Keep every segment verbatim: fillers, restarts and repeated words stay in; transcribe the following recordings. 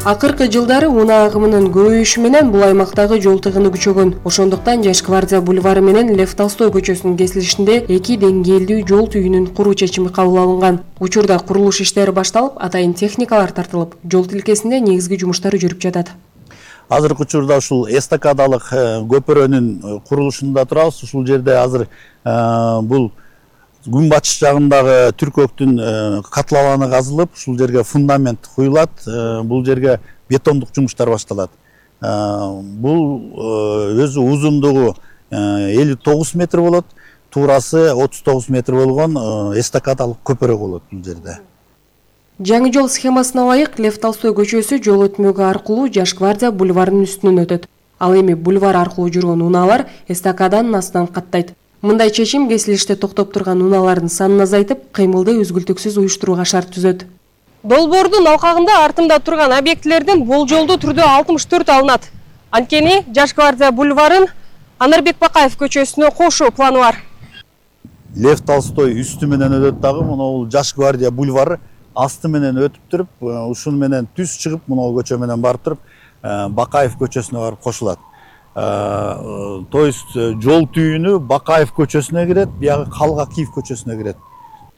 Акыркы жылдары унаа агымынын көбөйүшү менен бул аймактагы жол тыгыны күчөгөн. Ошондуктан Жаш гвардия бульвары менен Лев Толстой көчөсүнүн кесилишинде эки деңгээлдүү жол түйүнүн куруу чечими кабыл алынган. Учурда курулуш иштери башталып, атайын техникалар тартылып, жол тилкесинде негизги жумуштар жүрүп жатат. Азыркы учурда ушул эстакадалык көпүрөнүн курулушунда турабыз. Ушул жерде азыр бул күн батыш жагындагы түркөктүн катлаланы казылып, ушул жерге фундамент куюлат. Бул жерге бетондук жумуштар башталат. Бул өзү узундугу элүү тогуз метр болот, туурасы отуз тогуз метр болгон эстакадалык көпүрө болот бул жерде. Жаңы жол схемасына ылайык Лев Толстой көчөсү жол өтмөгү аркылуу Жаш гвардия бульварынын үстүнөн өтөт. Ал эми бульвар аркылуу жүргөн унаалар эстакаданын астынан каттайт. Мындай чечим кесилиште токтоп турган унаалардын санын азайтып, кыймылды үзгүлтүксүз уюштурууга шарт түзөт. Долбоордун алкагында артымда турган объектилердин болжолдуу түрдө алтымыш төрт алынат. Анткени Жаш гвардия бульварын Анарбек Бакаев көчөсүнө кошуу планы бар. Лев Толстой үстү менен өтөт дагы, мына Жаш гвардия бульвары асты менен өтүп туруп, ушун менен түз чыгып, мына көчө менен барып туруп, Бакаев көчөсүнө барып кошулат. То есть жол түйүнү Бакаев көчөсүнө кирет, биягы Калгакиев көчөсүнө кирет.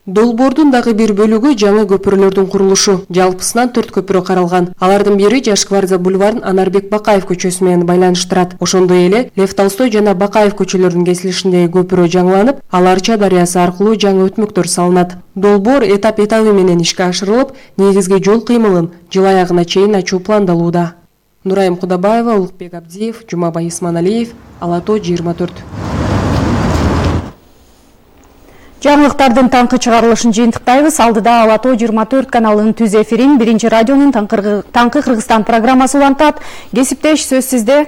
Долбоордун дагы бир бөлүгү жаңы көпүрөлөрдүн курулушу. Жалпысынан төрт көпүрө каралган. Алардын бири Жаш гвардия бульварын Анарбек Бакаев көчөсү менен байланыштырат. Ошондой эле Лев Толстой жана Бакаев көчөлөрүнүн кесилишиндеги көпүрө жаңыланып, ал Арча дарыясы аркылуу жаңы өтмөктөр салынат. Долбоор этап-этабы менен ишке ашырылып, негизги жол кыймылын жыл аягына чейин ачуу пландалууда. Нурайым Кудабаева, Улукбек Абдиев, Жумабай Исманалиев, Ала Тоо жыйырма төрт. Жаңылыктардын таңкы чыгарылышын жыйынтыктайбыз. Алдыда Ала Тоо жыйырма төрт каналынын түз эфирин биринчи радионун таңкы Кыргызстан программасы улантат. Кесиптеш, сөз сизде.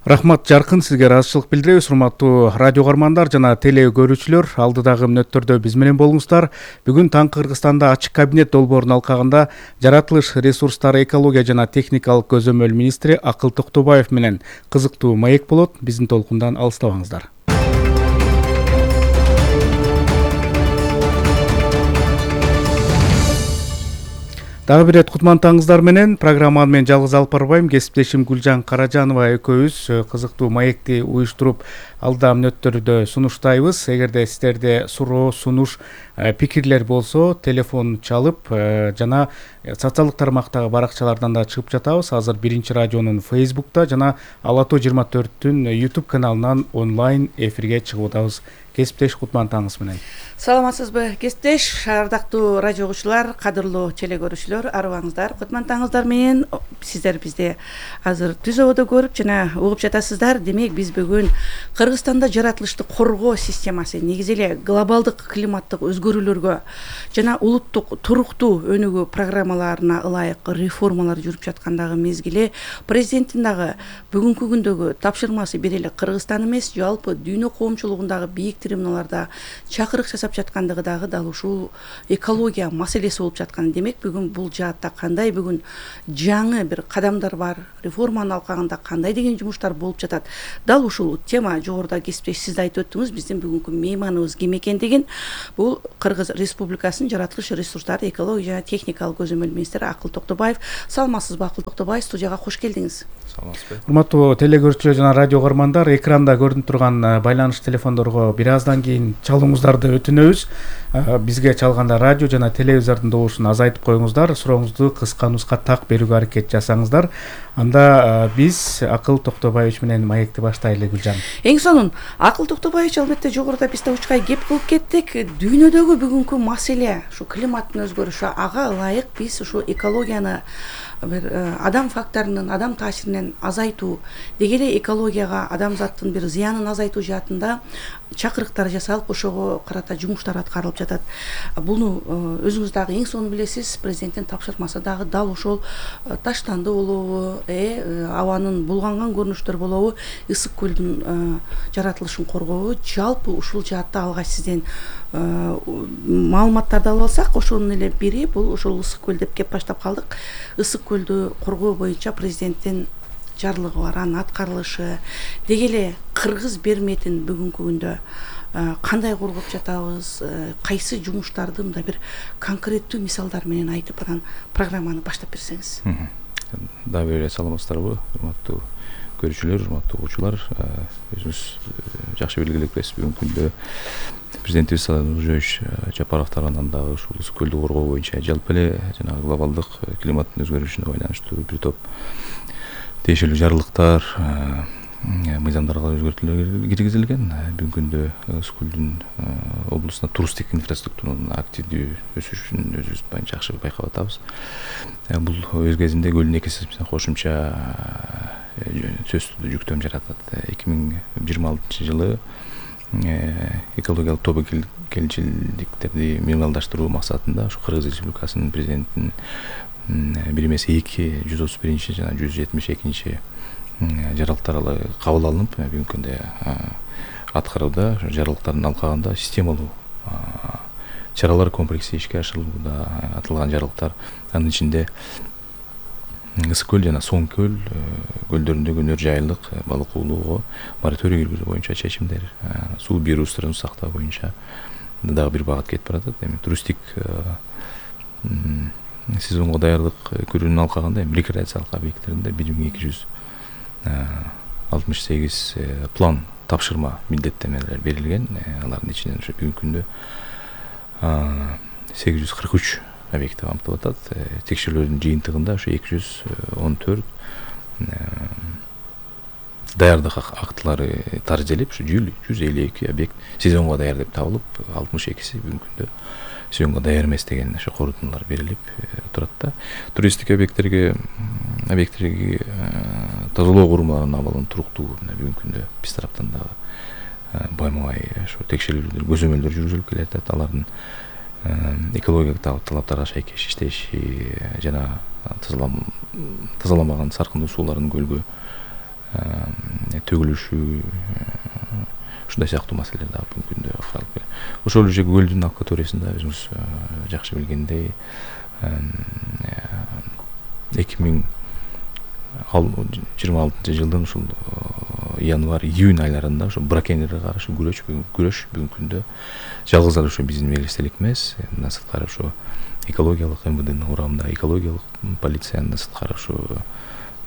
Рахмат Жаркын, сизге ыраазычылык билдиребиз. Урматтуу радио каармандар жана теле көрүүчүлөр, алдыдагы мүнөттөрдө биз менен болуңуздар. Бүгүн таңкы Кыргызстанда ачык кабинет долбоорунун алкагында жаратылыш ресурстары, экология жана техникалык көзөмөл министри Акыл Токтобаев менен кызыктуу маек болот. Биздин толкундан алыстабаңыздар. Дагы бир рет кутмандаңыздар менен программаны мен жалгыз алып барбайм. Кесиптешим Гүлжан Каражанова экөөбүз кызыктуу маекти уюштуруп, алда мүнөттөрдө сунуштайбыз. Эгерде сиздерде суроо, сунуш, пикирлер болсо, телефон чалып жана социалдык тармактагы баракчалардан да чыгып жатабыз. Азыр биринчи радионун Facebook'та жана Ала Тоо жыйырма төрттүн YouTube каналынан онлайн эфирге чыгып атабыз. Кесиптеш, кутмандаңыз менен. Саламатсызбы, кесиптеш, ардактуу радио угуучулар, кадырлуу теле көрүүчүлөр, арыбаңыздар, кутмандаңыздар менен сиздер бизде азыр түз абада көрүп жана угуп жатасыздар. Демек, биз бүгүн Кыргызстанда жаратылышты коргоо системасы, негизи эле глобалдык климаттык өзгөрүүлөргө жана улуттук туруктуу өнүгүү программаларына ылайык реформалар жүрүп жаткандагы мезгили, президенттин дагы бүгүнкү күндөгү тапшырмасы бир эле Кыргызстан эмес, жалпы дүйнө коомчулугундагы бийик трибуналарда чакырык жасап жаткандыгы дагы дал ушул экология маселеси болуп жаткан. Демек, бүгүн бул жаатта кандай бүгүн жаңы бир кадамдар бар, реформанын алкагында кандай деген жумуштар болуп жатат. Дал ушул тема жогоруда кесиптеш сиз да айтып өттүңүз, биздин бүгүнкү мейманыбыз ким экендигин. Бул Кыргыз Республикасынын жаратылыш ресурстары, экология жана техникалык көзөмөл министри Акыл Токтобаев. Саламатсызбы, Акыл Токтобаев, студияга кош келдиңиз. Саламатсызбы. Урматтуу теле көрүүчүлөр жана радио каармандар, экранда көрүнүп турган байланыш телефондорго бир аздан кийин чалууңуздарды өтүнөбүз. Бизге чалганда радио жана телевизордун добушун азайтып коюңуздар, сурооңузду кыска нуска так берүүгө аракет жасаңыздар. Анда биз Акыл Токтобаевич менен маекти баштайлы. Гүлжан. Эң сонун Акыл Токтобаевич албетте жогоруда биз да учкай кеп кылып кеттик. Дүйнөдөгү бүгүнкү маселе ушу климаттын өзгөрүшү, ага ылайык биз ушу экологияны бир адам факторунун, адам таасиринен азайтуу, деги эле экологияга адамзаттын бир зыянын азайтуу жаатында чакырыктар жасалып, ошого карата жумуштар аткарылып жатат. Буну өзүңүз дагы эң сонун билесиз, президенттин тапшырмасы дагы дал ошол таштанды болобу, э абанын булганган көрүнүштөр болобу, ысык көлдүн жаратылышын коргообу, жалпы ушул жаатта алгач сизден маалыматтарды алып алсак, ошонун эле бири бул ошол ысык көл деп кеп баштап калдык. Ысык көлдү коргоо боюнча президенттин жарлыгы бар, анын аткарылышы, деги эле кыргыз берметин бүгүнкү күндө кандай коргоп жатабыз, кайсы жумуштарды мындай бир конкреттүү мисалдар менен айтып, анан программаны баштап берсеңиз. дагы бир ирет саламатсыздарбы, урматтуу көрүүчүлөр, урматтуу угуучулар. Өзүңүз жакшы белгилепсиз, бүгүнкү күндө президентибиз Нуржойш Жапаров тарабынан дагы ушул ысык көлдү коргоо боюнча жалпы эле жанагы глобалдык климаттын өзгөрүшүнө байланыштуу бир топ тиешелүү жарлыктар, мыйзамдарга өзгөртүүлөр киргизилген. Бүгүнкү күндө ысык көлдүн облусунда туристтик инфраструктуранын активдүү өсүшүн өзүбүз жакшы байкап атабыз. Бул өз кезинде көлдүн экосистемасына кошумча сөзсүз жүктөм жаратат. эки миң жыйырма алтынчы жылы экологиялык тобокелчиликтерди минималдаштыруу максатында ушу Кыргыз Республикасынын президентинин бир эмес эки жүз отуз биринчи жана жүз жетимиш экинчи жарлыктары кабыл алынып, бүгүнкү күндө аткарууда. Жарлыктардын алкагында системалуу чаралар комплекси ишке ашырылууда. Аталган жарлыктар анын ичинде ысык көл жана соң көл көлдөрүндөгү өнөр жайылык балык уулоого мораторий киргизүү боюнча чечимдер, суу бир ресурстарын сактоо боюнча дагы бир багат кетип баратат. Эми туристтик сезонго даярдык көрүүнүн алкагында рекреациялык объекттеринде бир миң эки жүз алтымыш сегиз план тапшырма милдеттенмелер берилген. Алардын ичинен ушу бүгүнкү күндө сегиз жүз кырк үч объекти камтылып атат. Текшерүүлөрдүн жыйынтыгында ушу эки жүз он төрт даярдык актылары таржелип, ушу жүз элүү эки объект сезонго даяр деп табылып, алтымыш экиси бүгүнкү күндө сезонго даяр эмес деген ушу корутундулар берилип турат да. Туристтик объекттерге объекттерге тазалоо курумаларынын абалын туруктуу бүгүнкү күндө биз тараптан дагы байма-бай ушу текшерүүлөр, көзөмөлдөр жүргүзүлүп келатат. Алардын экологиялык талаптарга шайкеш иштеши жана тазаламаган саркындуу суулардын көлгө төгүлүшү, ушундай сыяктуу маселелер дагы бүгүнкү күндө каралып келет. Ошол эле көлдүн акваториясында өзүңүз жакшы билгендей эки миң жыйырма алтынчы жылдын ушул январь июнь айларында ошо браконьерлерге каршы күрөш күрөш бүгүнкү күндө жалгыз эле ошо биздин мелестелик эмес. Мындан сырткары ошо экологиялык эм вэ дэнин курамында экологиялык полициянын сырткары ошо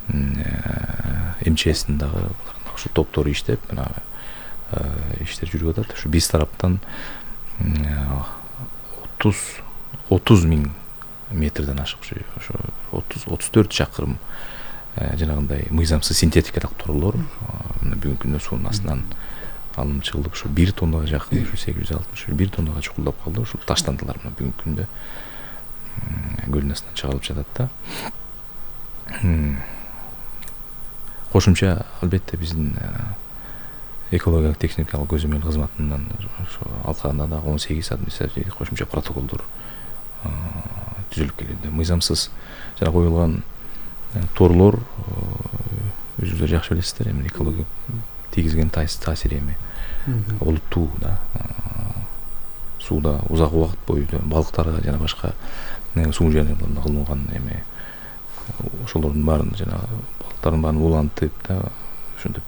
эм че эстин дагы ошо топтору иштеп мына иштер жүрүп атат. Ушу биз тараптан отуз отуз миң метрден ашык ошо отуз отуз төрт чакырым жанагындай мыйзамсыз синтетикалык торлор бүгүнкү күндө суунун астынан алынып чыгылып, ушу бир тоннага жакын, ушу сегиз жүз алтымыш бир тоннага чукулдап калды. Ушул таштандылар мына бүгүнкү күндө көлдүн астынан чыгарылып жатат да. Кошумча албетте биздин экологиялык техникалык көзөмөл кызматынан ошо алкагында дагы он сегиз административдик кошумча протоколдор түзүлүп келүүдө. Мыйзамсыз жана коюлган торлор өзүңүздөр жакшы билесиздер, эми экология тийгизген таасири эми олуттуу да. Сууда узак убакыт бою балыктарга жана башка суу жаныбарларына кылынган эми ошолордун баарын жана балыктардын баарын улантып да ошентип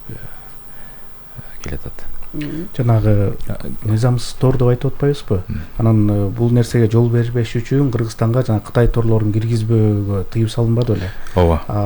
келатат. Жанагы мыйзамсыз тор деп айтып атпайбызбы? Анан бул нерсеге жол бербеш үчүн Кыргызстанга жана Кытай торлорун киргизбөөгө тыюу салынбады беле? Ооба.